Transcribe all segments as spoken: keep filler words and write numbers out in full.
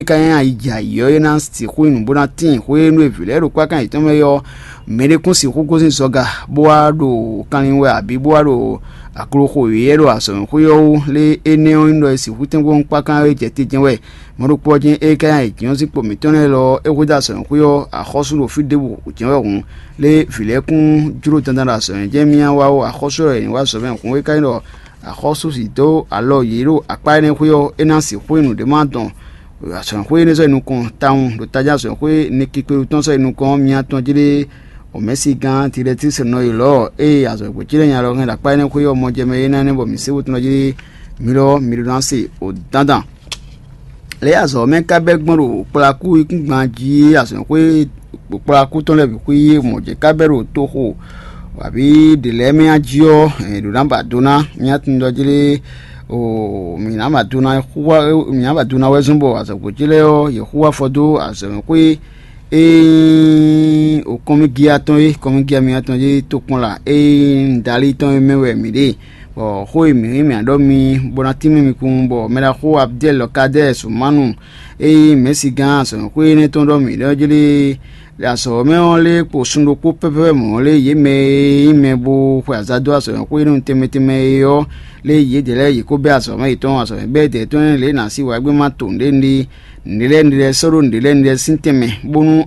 kɛn ayijɛ ayǐ ɔ́, é ná sixú nyí nǔ bó ná tíin xwé nú e vǐ lɛ́ɛ ɖo kpákán yětɔn mɛ é ɔ́, mɛɖé kún sixú gosín zɔga bó wá ɖo kanlin wɛ abǐ bó wá ɖo akloxo wěwé ɖo azɔ̌mɛxwé ɔ́ wú. Lé énɛ́ ɔ́ nyí ɖɔ è sixú tɛ́nkpɔ́n kpákán é jɛ te jɛ́n wɛ. Mɔ̌ ɖokpó ɔ́ jɛ́n é ka nyi ayǐjínjɔ́n sín kpo mǐtɔn lɛ́ɛ lɔ ɔ́, é hwedó azɔ̌mɛxwé ɔ́ axɔ́sú ɖo fí ɖěbǔ jɛ́n wɛ hǔn. Lé vǐ lɛ́ɛ kún jló dandan ɖo azɔ̌mɛ jɛ́n myá wá ó. Axɔ́sú ɔ́ è nǐ wá azɔ̌mɛ hǔn é ka nyí ɖɔ axɔ́sú sì dó alɔ yě ɖo akpá énɛ́ xwé ɔ́, é ná sixú nyí nǔɖé ma dɔn azɔ̌mɛxwé énɛ́ sɔ́ yi nukɔn tawun ɖo tají azɔ̌mɛxwé Nikikpelu tɔn sɔ́ yi nukɔn ɔ́, myá tɔn jí ɖé. Omɛ̌sigán Tilɛtísi nɔ yi lɔ̌ ée azɔ̌gbó ce lɛ́ɛ nya lɔ hɛn ɖo akpá énɛ́ xwé ɔ́ mɔ jɛ mɛ é ná nɛ́ bɔ mǐ sé wotun jí mǐ lɔ mǐ ɖó ná se o dandan. Lě azɔ̌ mɛ ka bɛ́ gbɔn ɖo kplakú yíkúngban jí azɔ̌xwé kplakú tɔn lɛ́ɛ bǐ xwí mɔ̌ jɛ ka bɛ́ ɖo toxo abǐ ɖě lɛ́ɛ mɛ jí ɔ́, è ɖǒ ná ba do ná mía tunwun ɖɔ jí lé o mǐ ná ba do ná xú wá mǐ ná ba do ná wɛ zɔ́n bɔ azɔ̌gbó ce lɛ́ɛ ɔ́, yě xú afɔ dó azɔ̌xwé e nyí o kɔnmígíyá tɔn é kɔnmígíyá mía tɔn é tokpɔnla e nyí Dali tɔn é mɛ wɛ mǐ ɖe. Bɔ xó e mǐ nyí mǐ ɖɔ mi bó ná tínmɛ mi kún bɔ mɛɖaxó Abdɛ́l Kadɛ́ɛ Sumanu e nyí mɛ̌sigán azɔ̌mɛxwé énɛ́ tɔn ɖɔ mǐ ɖɔ jlé azɔ̌ mɛ ɔ́ lé kpo sun ɖokpó pɛ́pɛ́pɛ́ mɔ̌ lé yě mɛ e nyí mɛ bó xwe azǎn dó azɔ̌mɛxwé énɛ́ tɛnmɛ tɛnmɛ é ɔ́, lé yědɛɛ lɛ́ɛ yě kó bɛ́ azɔ̌ mɛ yětɔn azɔ̌ mɛ bɛ́ dɛ̌ tɔn lě e nǎ sí wǎ gbé ma to nǔɖé nɖí nǔɖé lɛ́ɛ nǔɖé lɛ́ɛ sɔ́ ɖó nǔɖé lɛ́ɛ nǔɖé lɛ́ɛ sín tɛnmɛ bónú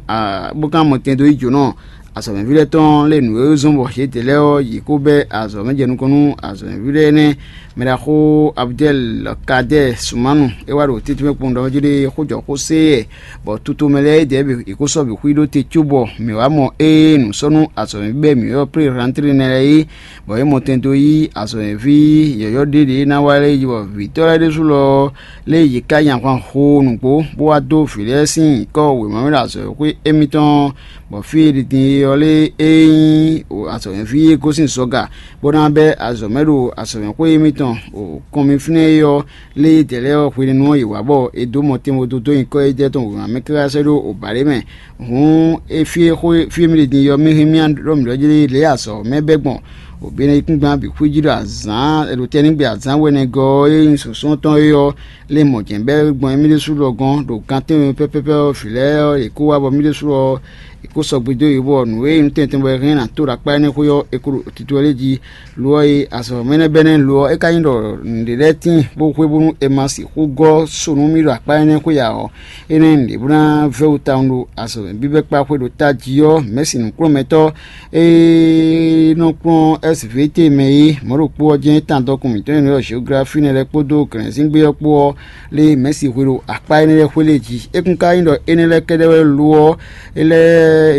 bó ka mɔ tɛn dó yí jǒnɔ azɔ̌mɛví lɛ́ɛ tɔn lé nǔ e zɔ́n bɔ yě dě lɛ́ɛ ɔ́, yě kó bɛ́ azɔ̌ mɛ jɛ nukɔn nú azɔ̌mɛví lɛ́ɛ énɛ́. Mɛɖaxó Abdɛ́l Kadɛ́ɛ Sumanu é wá ɖo tɛ́ntin mɛ kpɔ́n ɖɔ jí ɖé xójɔxó sé yɛ, bɔ tutomɛ lɛ́ɛ é dɛ̌ bǐ è kó sɔ́ bǐ xwí ɖó te cóbɔ mǐ wá mɔ ée nǔ sɔ́ nú azɔ̌mɛví bɛ́ mǐ ɔ́ plé rantlé nɛ́ lɛ́ɛ é, bɔ é mɔ tɛn dó yí azɔ̌mɛví yɔ̌yɔ́ ɖé ɖě ná wá lɛ́ɛ yi bɔ vǐtɔ́ lɛ́ɛ ɖésú lɔ lé yě ká nyi ahwan xo nǔgbó, bó wá dó vǐ lɛ́ɛ sín nyǐkɔ wěma mɛ ɖo azɔ̌xwé émítɔn, bɔ fí e ɖi din é ɔ́ lé é nyí azɔ̌mɛví e gosín zɔga, bó ná bɛ́ azɔ̌ mɛ ɖo azɔ̌mɛxwé émítɔn o kɔn mì fínɛ́ é ɔ́, lé yědɛɛ lɛ́ɛ ɔ́ hwenɛ́nu ɔ́ yě wǎ bɔ è dǒ mɔ tɛnmɛ dó dó nyǐkɔ édɛ́ tɔn wěma mɛ káká sɛ́ ɖó o bǎɖé mɛ. Hǔn é fí e xó fí e mì ɖe din yɔ mì hɛn mì ɖɔ mǐ ɖɔ jí lě e azɔ̌ mɛ bɛ́ gbɔn o Benɛyíkúngban bǐ xwíjí ɖo azǎn ɖo tɛ́nnígbe azǎn wɛnɛgɔ́ ɔ́ e nyí sǔsɔ́ tɔn é ɔ́, lé mɔ̌ jɛ́n bɛ́ gbɔn émí ɖésú lɔ gɔ́n ɖo gan tɛ́nwe pɛ́pɛ́pɛ́ ɔ́, vǐ lɛ́ɛ ɔ́, yě kó wá bɔ mì ɖésú ɔ́, è kó sɔgbe dó yě bɔ nǔ e nyí nú tɛntɛn bɔ è hɛn ná tó ɖo akpá énɛ́ xwé ɔ́, è ko ɖo tito lɛ́ɛ jí. Lo ɔ́ e azɔ̌ mɛ énɛ́ bɛ́ nɛ́ lo ɔ́, é ka nyí ɖɔ nǔɖé lɛ́ɛ tíin bó hwe bónú è ma sixú gɔ́ so nú mì ɖo akpá énɛ́ xwé ǎ ɔ́, énɛ́ nǔɖé bó ná vɛ́ wú tawun ɖo azɔ̌ bíbɛ́ kpá xwé ɖo tají ɔ́, mɛ̌si nǔkplɔ́nmɛtɔ́ e nɔ kplɔ́n S V T mɛ é, mɔ̌ ɖokpó ɔ́ jɛ́n tán dɔkun mǐtɔn e nɔ ylɔ́ Jeoglafí nɛ́ lɛ́ɛ kpódó glɛ̌nzíngbe ɔ́ kpó ɔ́, lé mɛ̌si hwe ɖo akpá énɛ́ lɛ́ɛ xwé lɛ́ɛ jí. É kún ka nyí ɖɔ énɛ́ lɛ́ɛ kɛ́ɖɛ́ wɛ lo ɔ́, é lɛ́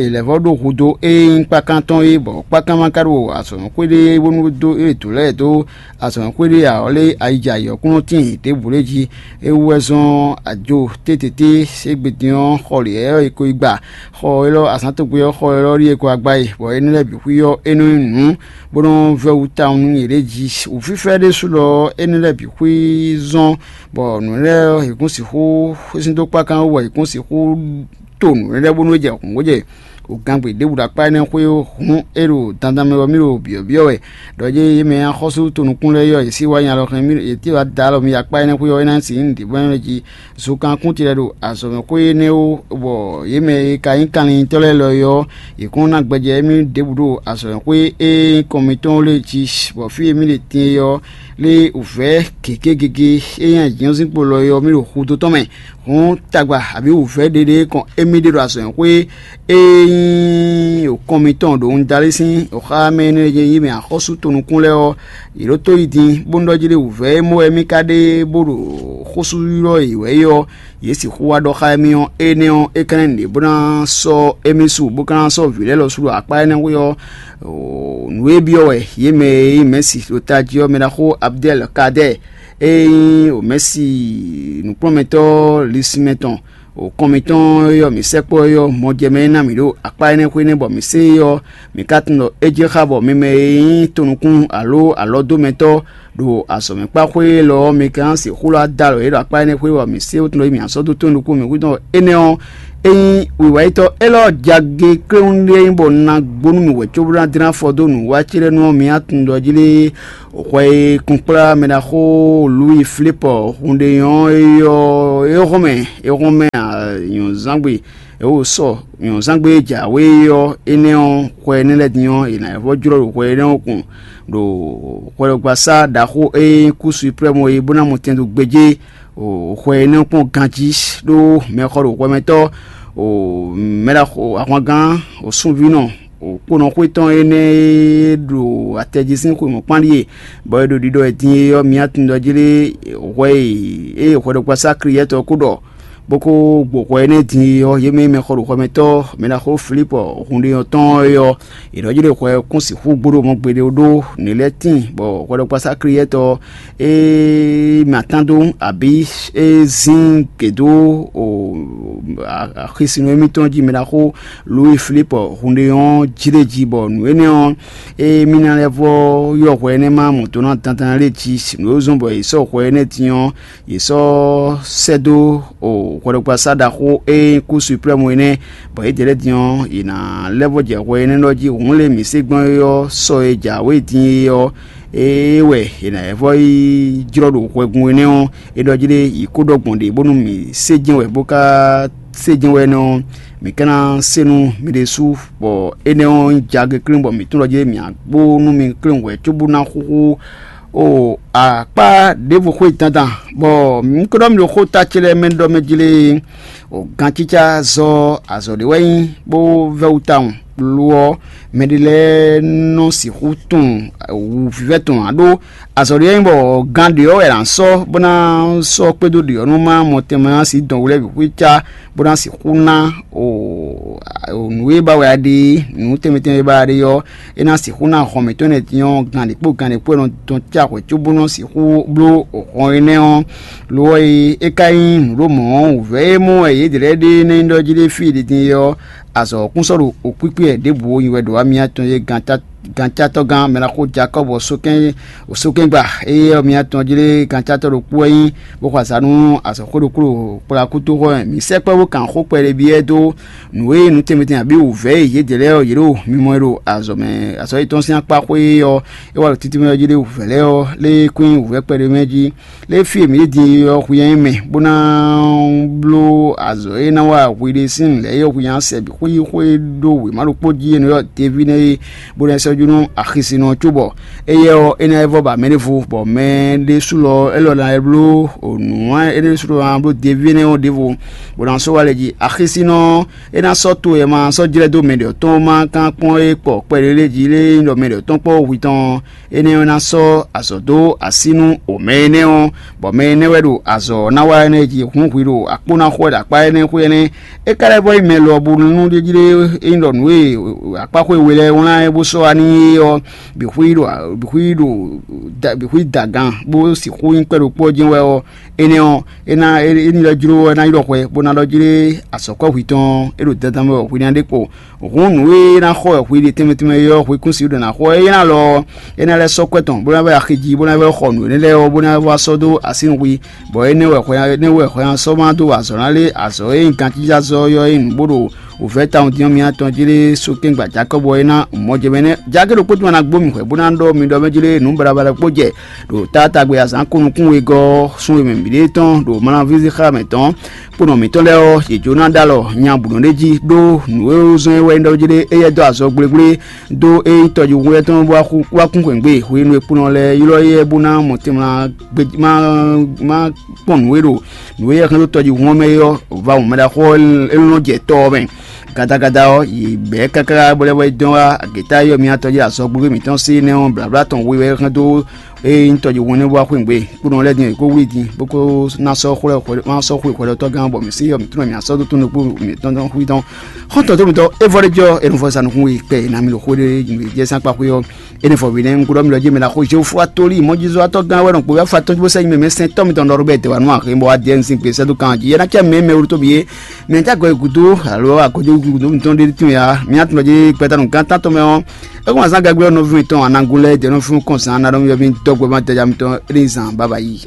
è lɛ̌ vɔ́ ɖó hudó e nyí kpákán tɔn é, bɔ kpákán ma ka ɖo azɔ̌mɛxwé ɖé bónú dó é dǒ lɛ́ɛ dó azɔ̌mɛxwé ɖé ǎ ɔ́, lé ayijɛ ayǐ ɔ́ kún nɔ tíin ɖěbǔ lɛ́ɛ jí. É wú wɛ zɔ́n ajo tétété égbé din ɔ́, xɔ lě ɔ́ è ko yi gba xɔ élɔ́ azǎn tɔn gbe ɔ́, xɔ élɔ́ ɖíe ko wá gbá yi, bɔ énɛ́ lɛ́ɛ bǐ xwí ɔ́, é nɔ nyí nǔ bó nɔ́ vɛ́ wú tawun nú yěɖée jí. Wǔfífɛ́ ɖésú lɔ ɔ́, énɛ́ lɛ́ɛ bǐ xwí zɔ́n, bɔ nǔ lɛ́ɛ ɔ́, yě kún sixú sín dó kpákán wú, bɔ yě kún sixú to nǔ lɛ́ɛ bónú é jɛ hǔn bó jɛ wǔgangbe ɖěbǔ ɖo akpá énɛ́ xwé hǔn é ɖo dandan mɛ wɛ mì ɖo byɔ̌byɔ́ wɛ. Ɖɔ yé yě mɛ axɔ́sú tonukún lɛ́ɛ yɔ yě sí wá nya lɔ hɛn mì yě tí wá da alɔ mì akpá énɛ́ xwé ɔ́, é ná sixú nyí nǔɖé bɔ é nɔ jí. Zokan kún ce lɛ́ɛ ɖo azɔ̌mɛxwé énɛ́ ó, bɔ yě mɛ e ka nyí kanlin tɔn lɛ́ɛ lɔ é ɔ́, yě kún ná gbɛjɛ émí ɖěbǔ ɖo azɔ̌mɛxwé e nyí kɔn mitɔn lɛ́ɛ jí, bɔ fí e mì ɖe din é ɔ́, lé wǔvɛ́ gěgé gěgé e nyí ayǐjínjɔ́n sín kpo lɔ é ɔ́, mì ɖo xudó tɔn mɛ. Hǔn tagba abǐ wǔvɛ́ ɖeɖe kɔn émí ɖe ɖo azɔ̌mɛxwé e nyí kɔn mitɔn ɖo wundalí sín xá mɛ énɛ́ e nyí mɛ axɔ́sú tonukún lɛ́ɛ ɔ́, yě ɖótó yi din, bó nɔ́ ɖɔ jí ɖé wǔvɛ́ e mɔ wɛ mì ka ɖe bó ɖo xó sú ylɔ́ yě wɛ é ɔ́, yě sixú wá ɖɔ xá émí ɔ́, énɛ́ ɔ́, é ka ná ɖe bó ná sɔ́ émí su, bó ka ná sɔ́ vǐ lɛ́ɛ lɔ su ɖo akpá énɛ́ xwé ɔ́. Nǔ e byɔ́ wɛ yě mɛ e nyí mɛ̌si ɖo tají ɔ́, mɛ ɖaxó Abdɛ́l Kadɛ́ɛ e nyí mɛ̌si nǔkplɔ́nmɛtɔ́ lisinmɛ tɔn, kɔn mitɔn e ɔ́, mǐ sɛkpɔ́ é ɔ́, mɔjɛmɛ e ná mǐ ɖo akpá énɛ́ xwé nɛ́ bɔ mǐ sé é ɔ́, mǐ ka tunwun ɖɔ é jɛ xá bɔ mi mɛ e nyí tonukún alo alɔdómɛtɔ́ ɖo azɔ̌mɛkpáxwé élɔ́ ɔ́, mi ka ná sixú lɔ́ adalɔ yě ɖo akpá énɛ́ xwé bɔ mǐ sé wútu nɔ yi mǐ asɔ́ dó tónú nukún mǐ hwídɔ́ énɛ́ ɔ́, Ényí wǐwáyitɔ́ élɔ́ jagekléwún ɖé nyí bɔ un ná gbónú mì wɛ cóbó ná dlɛ́n afɔ dó nǔwiwa ce lɛ́ɛ nu ɔ́, mi ná tunwun ɖɔ jí lé hwɛ e kunkplá mɛɖaxó Luwi Filípɔ hun ɖé nyɔ́ é ɔ́, é hɔn mɛ é hɔn mɛ nyɔ̌zángbe é wo sɔ nyɔ̌zángbe e jǎwe é ɔ́, énɛ́ ɔ́, hwɛ énɛ́ lɛ́ɛ din ɔ́, è nǎ vɔ́ jlɔ́ ɖo hwɛ énɛ́ ɔ́ kun ɖo hwɛɖɔgbasá ɖaxó e nyí kú suprɛ́mu é bó ná mɔ tɛn dó gbéjé. Hwɛ énɛ́ kpɔ́n ganjí ɖó mɛxɔ ɖo hwɛmɛtɔ́ mɛɖaxo ahwangán sunvínɔ kponɔxwé tɔn énɛ́ e ɖo atɛjí sín xwemɔ̌kpán ɖíe, bɔ é ɖo ɖiɖɔ e din é ɔ́, mǐ tunwun ɖɔ jí lé hwɛ e ée hwɛɖɔgbasá Kliyɛ́tɔ ko ɖɔ bó ko gbo hwɛ énɛ́ din é ɔ́, yě mɛ e mɛxɔ ɖo hwɛmɛtɔ́ mɛɖaxó Filípɔ hun ɖé ɔ́ tɔn é ɔ́, è nɔ jló hwɛ kún sixú gbóɖó mɔ gbeɖé ɖó nǔ lɛ́ɛ tíin, bɔ hwɛɖɔgbasá Kliyɛ́tɔ e mɛ atán dó abǐ e zín gědó axisínɔ émítɔn jí mɛɖaxó Luwi Filípɔ hun ɖé ɔ́ jlé jí, bɔ nǔ énɛ́ ɔ́, e mì ná lɛ́ vɔ́ ylɔ́ hwɛ énɛ́ ma mɔ dó ná dandan lé jí, nǔ e zɔ́n bɔ è sɔ́ hwɛ énɛ́ din ɔ́, yě sɔ́ sɛ́ dó hwɛɖɔgbasá ɖaxó e nyí kú suprɛ́mu é nɛ́, bɔ yědɛɛ lɛ́ɛ din ɔ́, yě ná lɛ́ vɔ́ jɛ hwɛ énɛ́ lɔ jí. Hǔn lě mǐ se gbɔn é ɔ́, sɔ e jǎwe din é ɔ́, é wɛ è nǎ vɔ́ yi jlɔ́ ɖo hwɛgun énɛ́ ɔ́, é ɖɔ jí ɖé yi kó ɖɔ gbɔn ɖě bónú mǐ sé jɛ́n wɛ bó ka sé jɛ́n wɛ nɛ́ ɔ́, mǐ ka ná se nú mi ɖésú, bɔ énɛ́ ɔ́ nyí jagekléwún bɔ mǐ tunwun ɖɔ jí ɖé mǐ ná gbó nú mi kléwún hwɛ̌ cóbó ná xúxú o akpá ɖěvo xwé dandan, bɔ un ko ɖɔ mi ɖo xó ta ce lɛ́ɛ mɛ ɖɔ mɛ jlé. O gancícá zɔ́ azɔ̌ ɖé wɛ nyí bó vɛ́ wú tawun. Lo ɔ́, mɛɖé lɛ́ɛ nɔ sixú tunwun wǔvívɛ́ tɔn ǎ ɖó azɔ̌ ɖé wɛ nyí bɔ gan ɖě ɔ́ wɛ è nǎ sɔ́ bó ná sɔ́ kpédó ɖě ɔ́ nú má mɔ tɛnmɛ ná sí dɔn wú lɛ́ɛ bǐ xwícá bó ná sixú ná o nǔ e ba wɛ a ɖe é, nǔ tɛnmɛ tɛnmɛ e ba a ɖe ɔ́, é ná sixú ná hɔn mǐtɔn lɛ́ɛ din ɔ́, gan ɖě kpó gan ɖě kpó è nɔ dɔn cá hwɛ̌ cóbó nɔ sixú bló hɔn énɛ́ ɔ́. Lo ɔ́, e é ka nyí nǔɖomɔ̌ ɔ́, wǔvɛ́ e mɔ wɛ yědɛɛ lɛ́ɛ ɖe ná nyí ɖɔ jí ɖé fí e ɖi din é ɔ́, azɔ̌ ɔ́ kún sɔ́ ɖo wǔkpíkpí wɛ ɖěbǔ ó nyi wɛ ɖo wá mǐtɔn e gancátɔ́gán mɛɖaxó Jakɔ́bu ɔ́ sókɛ́n sókɛ́ngba éyɛ́ ɔ́, mǐtɔn jí lé gancátɔ́ ɖokpó wɛ nyí, bó xɔ azǎn nú azɔ̌xwé ɖokpó ɖo kplakútoxɔ mɛ. Mǐ sɛkpɔ́ bó kan xó kpɛɖé byɔ́ ɛ dó nǔ e nǔ tɛnmɛ tɛnmɛ abǐ wǔvɛ́ e yědɛɛ lɛ́ɛ ɔ́, yě ɖo mimɔ e ɖo azɔ̌ mɛ azɔ̌ yětɔn sín akpá xwé ɔ́, é wá ɖo títí mɛ ɔ́ jí ɖé wǔvɛ́ lɛ́ɛ ɔ́, lé kún nyí wǔvɛ́ kpɛɖé mɛ jí. Lě e fí e mǐ ɖe din é ɔ́, hwi nyí mɛ bó ná bló azɔ̌ e ná wa hwi ɖe sín nǔ lɛ́ɛ é ɔ́, hwi nyí sɛ bǐ xwí xwé ɖó wěma ɖokpó jí e nɔ ylɔ́ Deví nɛ́ é, bó ná sɔ́ jú nú axisínɔ ɔ́ cóbɔ éyɛ́ ɔ́, é ná yi vɔ́ ba mɛ ɖěvo, bɔ mɛ ɖésú lɔ élɔ́ ná yi bló nǔ énɛ́ ɖésú lɔ ná bló Deví énɛ́ ɔ́ ɖěvo, bó ná sɔ́ wá lɛ jí. Axisínɔ ɔ́, é ná sɔ́ to e ma sɔ́ jlɛ́ dó mɛ ɖě ɔ́ tɔn ma kán kpɔ́n é kpɔ kpɛɖé lé jí lé nyí ɖɔ mɛ ɖě ɔ́ tɔn kpɔ́ hwi tɔn ɔ́, énɛ́ ɔ́ ná sɔ́ azɔ̌ dó así nú omɛ énɛ́ ɔ́, bɔ mɛ énɛ́ wɛ ɖo azɔ̌ ɔ́ ná wa énɛ́ jí hǔn hwi ɖo akpó ná xo wɛ ɖo akpá énɛ́ xwé énɛ́. É ka lɛ́ vɔ́ yi mɛ lɔ bó nú ɖé jí ɖé é nyí ɖɔ nǔ e akpáxwé we lɛ́ɛ wlán é bó sɔ́ wá n'i é ɔ́, bǐ xwí ɖo bǐ xwí ɖo bǐ xwí da gan bó sixú nyí kpɛ́ ɖokpó ɔ́ jɛ́n wɛ ɔ́, énɛ́ ɔ́, é ná é ní lɛ́ jló ɔ́, é ná ylɔ́ hwɛ bó ná ɖɔ jí ɖé azɔ̌kɔ́ hwi tɔn é ɖo dandan mɛ wɛ hwi ná ɖe kpo. Hǔn nǔ e ná xɔ wɛ hwi ɖe tɛnmɛ tɛnmɛ é ɔ́, hwi kún sixú ɖo ná xɔ ɛ. É ná lɔ ɔ́, é ná lɛ́ sɔ́ kwɛ́ tɔn, bó ná vɛ́ axi jí, bó ná vɛ́ xɔ nǔ énɛ́ lɛ́ɛ ɔ́, bó ná vɛ́ wá sɔ́ dó así nú hwi, bɔ énɛ́ wɛ hwɛ énɛ́ wɛ hwɛ ná sɔ́ má dó azɔ̌ ná lé azɔ̌ e nyí gancíjázɔ́ ɔ́ é nyí nǔ bó ɖo wǔvɛ́ tawun dín ɔ́ mǐtɔn jí lé sókɛ́ngba Jakɔ́bu ɔ́ é ná mɔjɛmɛ nɛ́. Jákè ɖokpó tɔn ná gbó mì hwɛ̌ bó ná ɖɔ mi ɖɔ mɛ jí lé nǔ baɖabaɖa kpó jɛ ɖo táatagbe azǎn ko nukún wegɔ́ ɔ́, sun e mɛ mǐɖée tɔn ɖo Malanvízi xá mɛ tɔn kponɔ mǐtɔn lɛ́ɛ ɔ́, yě jó ná ɖó alɔ nya bǔ nɔ ɖ'é jí ɖó nǔ e zɔ́n é wɛ é ɖɔ jí ɖé éyɛ́ dó azɔ gblégblé dó é nyí tɔjíhún éyɛ́ tɔn bó wá kún xwěgbe hwenu e kponɔ lɛ́ɛ ylɔ́ éyɛ́ bó ná mɔ tɛnmɛ má kpɔn nǔ e ɖo nǔ e yɛ hɛn dó tɔjíhún ɔ́ mɛ é ɔ́, va wǔn mɛ ɖaxó ɔ́ é nɔ jɛ tɔ ɔ́ mɛ. Gadagada ɔ́, yě bɛ̌ káká bó lɛ́ wá yi dɔn wá agěta e yɔ mì atɔ́ jí azɔgblúgbé mǐtɔn sí énɛ́ ɔ́, blǎblá tɔn we wɛ é hɛn dó ée nyí tɔjíhún énɛ́ bó wá xweyǐgbe. Kponɔ lɛ́ɛ din è kó wlí din bó kó ná sɔ́ xwlɛ́ má sɔ́ xwe hwɛɖɔtɔ́gán ɔ́, bɔ mǐ sí yɔ mǐtɔn mǐ ná sɔ́ dó tónú kpó mǐtɔn tɔn xwí tɔn. Xɔ́ntɔn tó mǐtɔn é vɔ ɖé jɔ è nɔ vɔ sa nukún we kpɛ è nǎ mi ɖo xó ɖé jɛ sín akpa xwé ɔ́. Énɛ́ vɔ mǐ nɛ́ un kúɖɔ mi lɔ jí mɛ ná xo Jehofa tóli mɔjizɔ́watɔ́ gán wɛ nɔ kpo wɛ afa tɔn jí bó sɛ́ nyi mɛ mɛ sɛn tɔ́ mitɔn ɖɔ ɖó bɛ dɛ̌ wa nú ahe bɔ wá diɛ nsin gbe sɛ́ dó kan jí é ná cɛ mɛ mɛ wútu tóbi é. Mɛ tá gɔ́ gúdo alo wá gɔ́ gúdo mitɔn ɖé tún ya mǐ atún lɔ jí gbɛtanu gán tán tɔn mɛ ɔ́. É kún azán gagbé ɔ́ nɔví mitɔn anagun lɛ́ɛ dɛ̌ nɔ fún kɔn zán ná ɖɔ mi yɔ mi dɔ́ gbɛ má dɛ́ ja mitɔn é ní zan baba yi.